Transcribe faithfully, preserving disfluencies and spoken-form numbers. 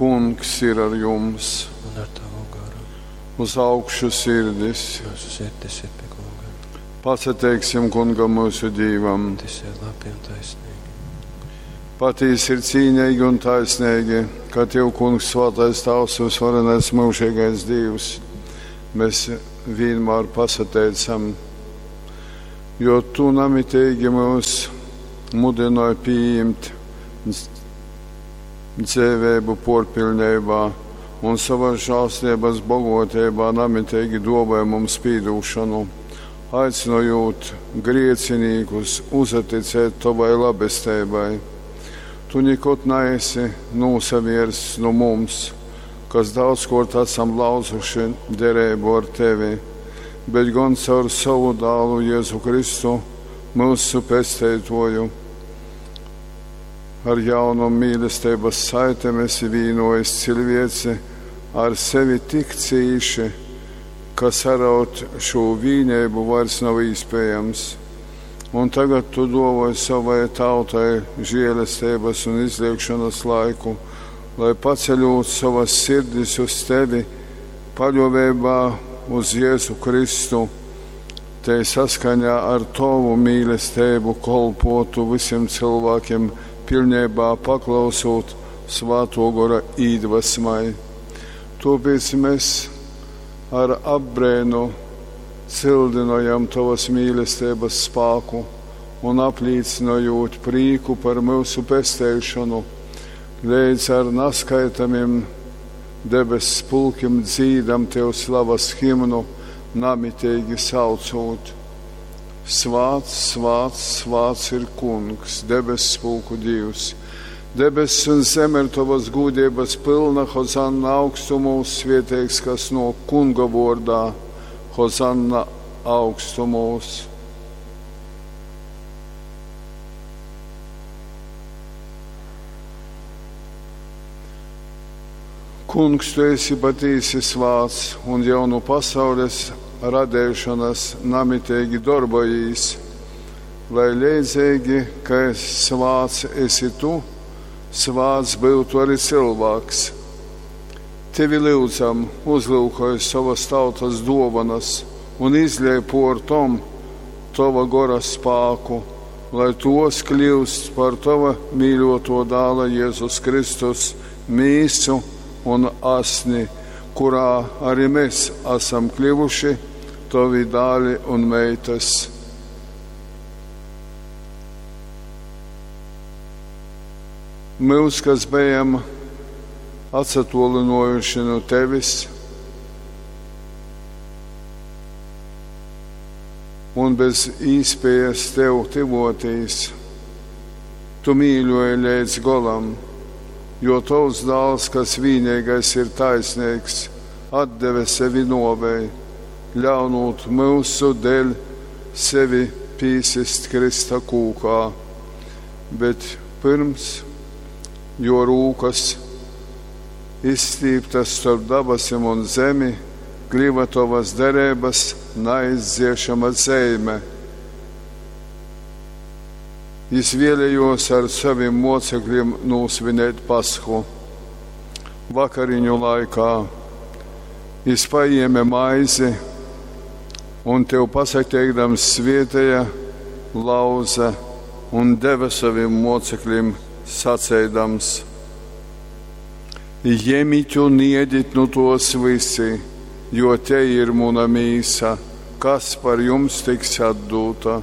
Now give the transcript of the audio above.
Kungs ir ar jums. Un ar tavu garu. Uz augšu sirdis. Mūsu sirdis ir pie Kunga. Pasateiksim Kungam mūsu Dīvam. Tas ir labi un taisnīgi. Patīsi ir cīnīgi un taisnīgi, ka Tev, Kungs, svētais Tavs, visvarenais mūžīgais Dievs, mēs vienmēr pasateicam, jo Tu namitīgi mūs mudināji pieņemt dzēvēbu porpilnībā un savas žēlstības bogotībā namitīgi dāvāja mums pīdūšanu, aicinojot griecinīkus uzaticēt Tavai labestībai. Tu nekad neesi nūsaviersts no mums, kas daudzkārt esam lauzuši derību ar Tevi, bet gan caur savu dālu Jēzu Kristu, mūsu pesteitoju. Ar jaunu mīlestības saitēm esi vīnojis cilvēci ar sevi tik cīši, ka saraut šo vīnību vairs nav iespējams. Un tagad tu dāvoji savai tautai žēlestības un izliekšanas laiku, lai paceļot savas sirdis uz tevi, paļāvībā uz Jēzu Kristu, te saskaņā ar tavu mīlestību kolpotu visiem cilvēkiem, pilnībā paklausot Svēto Gora īdvesmai. Tāpēc mēs ar apbrēnu cildinojam tavas mīlestības spēku un apliecinojot prieku par mūsu pesteišanu, līdz ar naskaitamiem debesu pulkiem dzīdam tev slavas himnu, namitīgi saucot. Svāts, svāts, svāts ir Kungs, debesu pulku Dievs. Debesis un zeme ir tavas gūdības pilna, Hozanna augstumos, svieteigs, kas no Kunga vārdā, Hozanna augstumos. Kungs, tu esi patīsi svāts un jau no pasaules radēšanas namitīgi darbojīs, lai leidzīgi, ka svāts esi tu, svāts būtu arī cilvēks. Tevi lūdzam, uzlūkoj savas tautas dovanas un izliej por tom tava gora spāku, lai tos kļūst par tava mīļoto dāla Jēzus Kristus mīsu un asni, kurā arī mēs esam kļuvuši tavi dāli un meitas. Mūs, kas bijam atsatolinojuši no tevis un bez īspējas tev tivotīs, tu mīļoji līdz golam, jo tavs dāls, kas vienīgais ir taisnīgs, atdeve sevi novei, ļaunot mūsu dēļ sevi pīsist Krista kūkā. Bet pirms, jo rūkas izstīptas starp dabasim un zemi, kļuva tavas derības neizdziešama zeime. Jis vēlējos ar saviem mocekļiem nosvinēt pashu. Vakariņu laikā jis paņēma maizi un tev pasateikdams svietēja, lauza un deva saviem mocekļiem sacēdams: Ņemiet un ēdiet nu tos visi, jo te ir muna mīsa, kas par jums tiks atdota.